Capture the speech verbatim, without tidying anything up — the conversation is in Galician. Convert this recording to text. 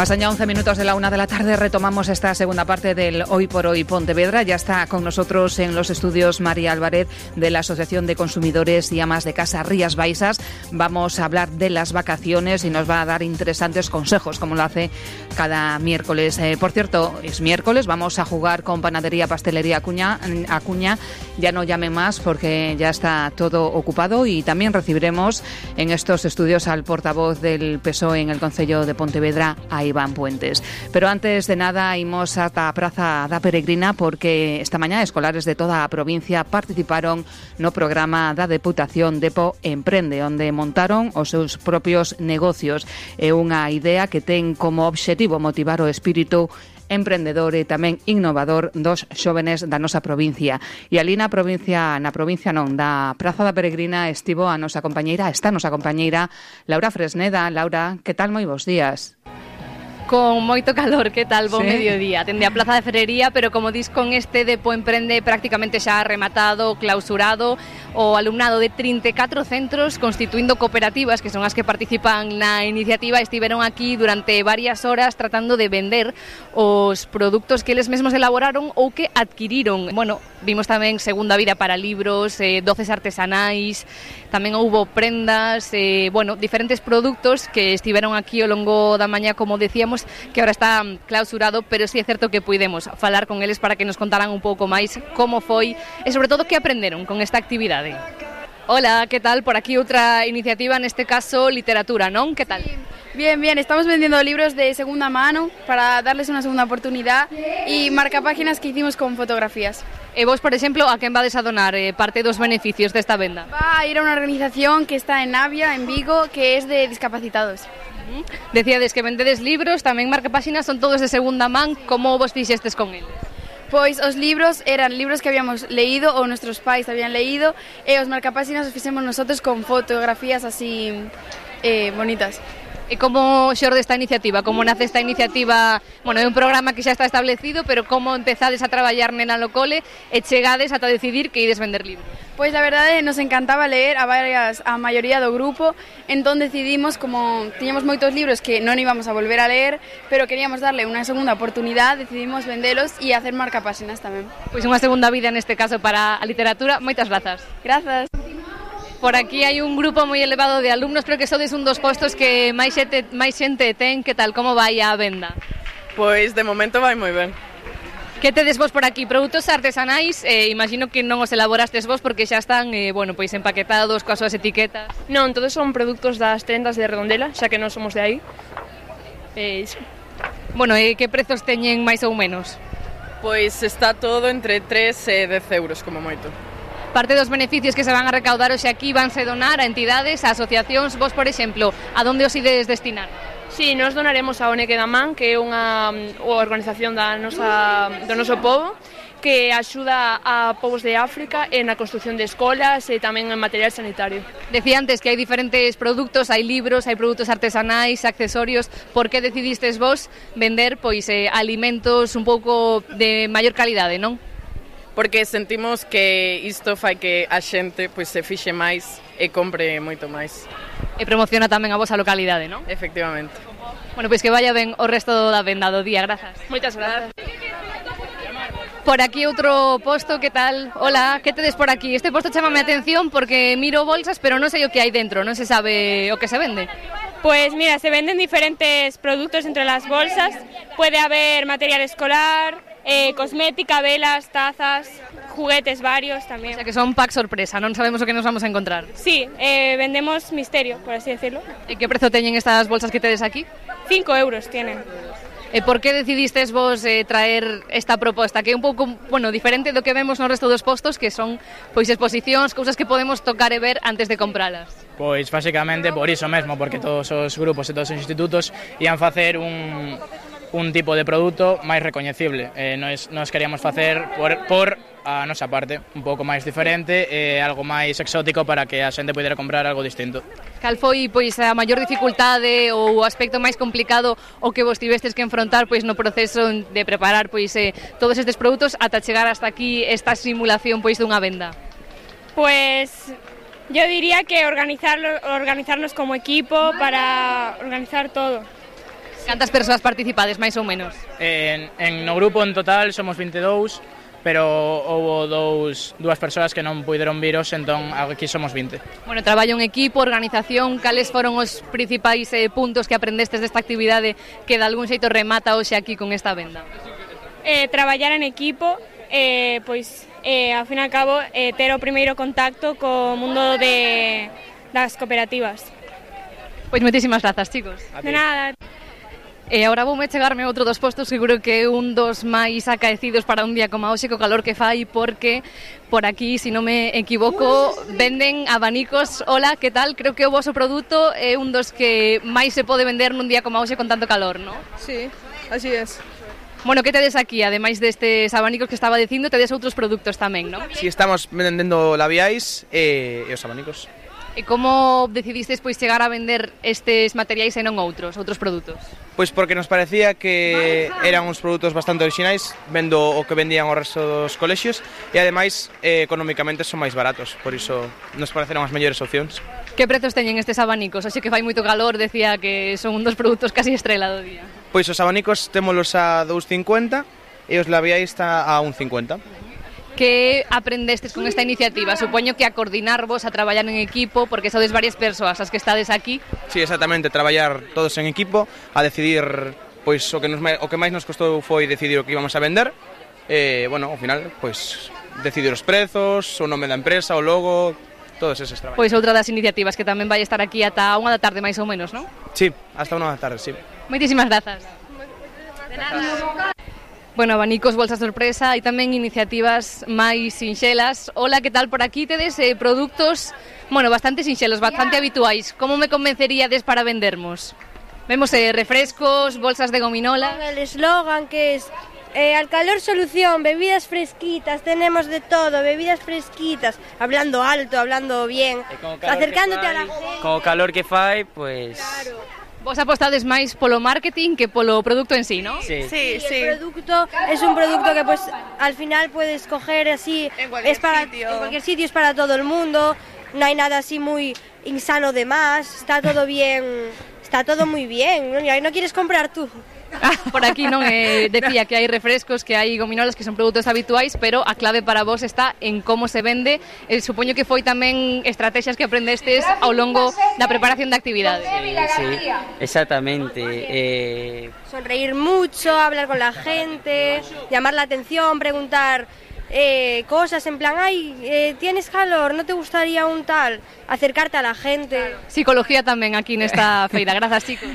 Pasan ya once minutos de la una de la tarde, retomamos esta segunda parte del Hoy por Hoy Pontevedra. Ya está con nosotros en los estudios María Álvarez de la Asociación de Consumidores y Amas de Casa Rías Baixas. Vamos a hablar de las vacaciones y nos va a dar interesantes consejos, como lo hace cada miércoles. Eh, por cierto, es miércoles, vamos a jugar con Panadería Pastelería Acuña. Acuña. Ya no llame más porque ya está todo ocupado, y también recibiremos en estos estudios al portavoz del P S O E en el Concello de Pontevedra, a Iván Puentes. Pero antes de nada, imos ata a Praza da Peregrina, porque esta mañá escolares de toda a provincia participaron no programa da Deputación Depo Emprende, onde montaron os seus propios negocios. É unha idea que ten como obxectivo motivar o espírito emprendedor e tamén innovador dos xóvenes da nosa provincia. E ali na provincia, na provincia non, da Praza da Peregrina estivo a nosa compañeira, está a nosa compañeira Laura Fresneda. Laura, que tal? Moi bons días. Con moito calor, que tal? Bo sí. mediodía. Tende a Plaza de Ferrería, pero como dis, con este Depo Emprende prácticamente xa rematado, clausurado, o alumnado de trinta e catro centros constituindo cooperativas, que son as que participan na iniciativa, estiveron aquí durante varias horas tratando de vender os produtos que eles mesmos elaboraron ou que adquiriron. Bueno, vimos tamén segunda vida para libros, eh, doces artesanais, tamén houbo prendas, eh, bueno, diferentes produtos que estiveron aquí ao longo da mañá, como decíamos, que ahora está clausurado, pero sí é certo que puidemos falar con eles para que nos contaran un pouco máis como foi e sobre todo que aprenderon con esta actividade. Hola, que tal? Por aquí outra iniciativa, neste caso literatura, non? Que tal? Sí. Bien, bien, estamos vendiendo libros de segunda mano para darles una segunda oportunidad y marcapáginas que hicimos con fotografías. E vos, por exemplo, a quen vades a donar eh, parte dos beneficios desta venda? Va a ir a unha organización que está en Navia, en Vigo, que es de discapacitados. Decíades que vendedes libros, tamén marcapáxinas, son todos de segunda man. Como vos fixestes con eles? Pois os libros eran libros que habíamos leído ou nuestros pais habían leído, e os marcapáxinas os fixemos nosotros con fotografías así eh, bonitas. E como xorde esta iniciativa? Como nace esta iniciativa? Bueno, é un programa que xa está establecido, pero como empezades a traballar nena no cole e chegades ata decidir que ides vender libros? Pois a verdade nos encantaba ler a varias a maioría do grupo, entón decidimos, como tiñamos moitos libros que non íbamos a volver a ler, pero queríamos darle unha segunda oportunidade, decidimos vendelos e hacer marcapáxinas tamén. Pois unha segunda vida neste caso para a literatura. Moitas grazas. Grazas. Por aquí hai un grupo moi elevado de alumnos, creo que sodes un dos postos que máis xente, máis xente ten. Que tal, como vai a venda? Pois de momento vai moi ben. Que tedes vos por aquí? Produtos artesanais, eh, imagino que non os elaborastes vos porque xa están eh, bueno, pois empaquetados coas súas etiquetas. Non, todos son produtos das tendas de Redondela, xa que non somos de aí. Eh, iso. Bueno, e que prezos teñen máis ou menos? Pois está todo entre tres e dez euros como moito. Parte dos beneficios que se van a recaudar hoxe aquí vanse donar a entidades, a asociacións. Vos, por exemplo, a donde os ides destinar? Sí, nos donaremos a O N G da Man, que é unha organización da nosa, do noso povo, que axuda a povos de África na construción de escolas e tamén en material sanitario. Decía antes que hai diferentes produtos, hai libros, hai produtos artesanais, accesorios. Por que decidistes vos vender pois eh, alimentos un pouco de maior calidade, non? Porque sentimos que isto fai que a xente pois se fixe máis e compre moito máis. E promociona tamén a vosa localidade, non? Efectivamente. Bueno, pois que vaya ben o resto da venda do día. Grazas. Moitas grazas. Por aquí outro posto, que tal? Hola, que tedes por aquí? Este posto chamame a atención porque miro bolsas, pero non sei o que hai dentro, non se sabe o que se vende. Pues mira, se venden diferentes productos entre las bolsas. Puede haber material escolar, eh, cosmética, velas, tazas, juguetes varios también. O sea que son pack sorpresa, non sabemos o que nos vamos a encontrar. Sí, eh, vendemos misterio, por así decirlo. E que prezo teñen estas bolsas que tedes aquí? Cinco euros tienen. E por que decidistes vos eh, traer esta proposta, que é un pouco, bueno, diferente do que vemos no resto dos postos, que son pois exposicións, cousas que podemos tocar e ver antes de compralas? Pois basicamente por iso mesmo, porque todos os grupos e todos os institutos ian facer un, un tipo de produto máis recoñecible. Eh, nos, nos queríamos facer por, por a nosa parte, un pouco máis diferente e algo máis exótico para que a xente pudera comprar algo distinto. Cal foi pois a maior dificultade ou o aspecto máis complicado o que vos tivestes que enfrontar pois no proceso de preparar pois eh, todos estes produtos ata chegar hasta aquí esta simulación pois dunha venda? Pues yo diría que organizarlo, organizarnos como equipo para organizar todo. Cantas persoas participades, máis ou menos? En, en no grupo en total somos veintidós, pero houve dous, dúas persoas que non puideron viros, entón aquí somos vinte. Bueno, traballo en equipo, organización, cales foron os principais eh, puntos que aprendestes desta actividade que de algún xeito remata hoxe aquí con esta venda? Eh, traballar en equipo, eh, pois, eh, ao fin e ao cabo, eh, ter o primeiro contacto co mundo de, das cooperativas. Pois moitísimas grazas, chicos. De nada. E agora voume chegarme outro dos postos, seguro que é un dos máis acaecidos para un día como hoxe, co calor que fai, porque por aquí, se si non me equivoco, venden abanicos. Hola, que tal? Creo que o voso produto é un dos que máis se pode vender nun día como hoxe con tanto calor, non? Sí, así es. Bueno, que tedes aquí? Ademais destes abanicos que estaba dicindo, tedes outros produtos tamén, non? Si, estamos vendendo labiais e, e os abanicos. E como decidistes pois chegar a vender estes materiais e non outros, outros produtos? Pois porque nos parecía que eran uns produtos bastante orixinais, vendo o que vendían o resto dos colexios, e ademais eh, económicamente son máis baratos, por iso nos pareceron as mellores opcións. Que prezos teñen estes abanicos? Oxe que fai moito calor, decía que son un dos produtos casi estrela do día. Pois os abanicos témolos a dous cincuenta e os labiais está a un cincuenta. Que aprendestes con esta iniciativa? Supoño que a coordinarvos, a traballar en equipo, porque sodes varias persoas as que estades aquí. Sí, exactamente, traballar todos en equipo, a decidir, pois o que nos o que máis nos costou foi decidir o que íbamos a vender. E, bueno, ao final, pois decidir os prezos, o nome da empresa, o logo, todos eses traballos. Pois outra das iniciativas que tamén vai estar aquí ata unha da tarde máis ou menos, non? Sí, hasta unha da tarde, sí. Moitísimas grazas. De nada. Bueno, abanicos, bolsa sorpresa e tamén iniciativas máis sinxelas. Hola, que tal por aquí? Tedes eh, produtos, bueno, bastante sinxelos, bastante habituais. Como me convenceríades para vendermos? Vemos eh, refrescos, bolsas de gominola. El eslogan que es eh, al calor solución, bebidas fresquitas, tenemos de todo, bebidas fresquitas, hablando alto, hablando bien, acercándote fai, a la gente. Con o calor que fai, pues... Claro. Vos apostades máis polo marketing que polo producto en sí, ¿no? Sí, sí, sí. El producto es un producto que pues al final puedes coger así, en cualquier es para sitio. en cualquier sitio, es para todo el mundo, no hay nada así muy insano de más, está todo bien, está todo muy bien, ¿no? ¿No quieres comprar tú? Ah, por aquí non eh, decía que hai refrescos, que hai gominolas, que son produtos habituais, pero a clave para vos está en como se vende. Eh, supoño que foi tamén estrategias que aprendestes ao longo da preparación da actividade. Sí, sí, exactamente. Eh... Sonreír mucho, hablar con la gente, llamar la atención, preguntar eh, cosas en plan, ay, eh, ¿tienes calor? ¿No te gustaría un tal? Acercarte a la gente. Psicología tamén aquí nesta feira. Grazas, chicos.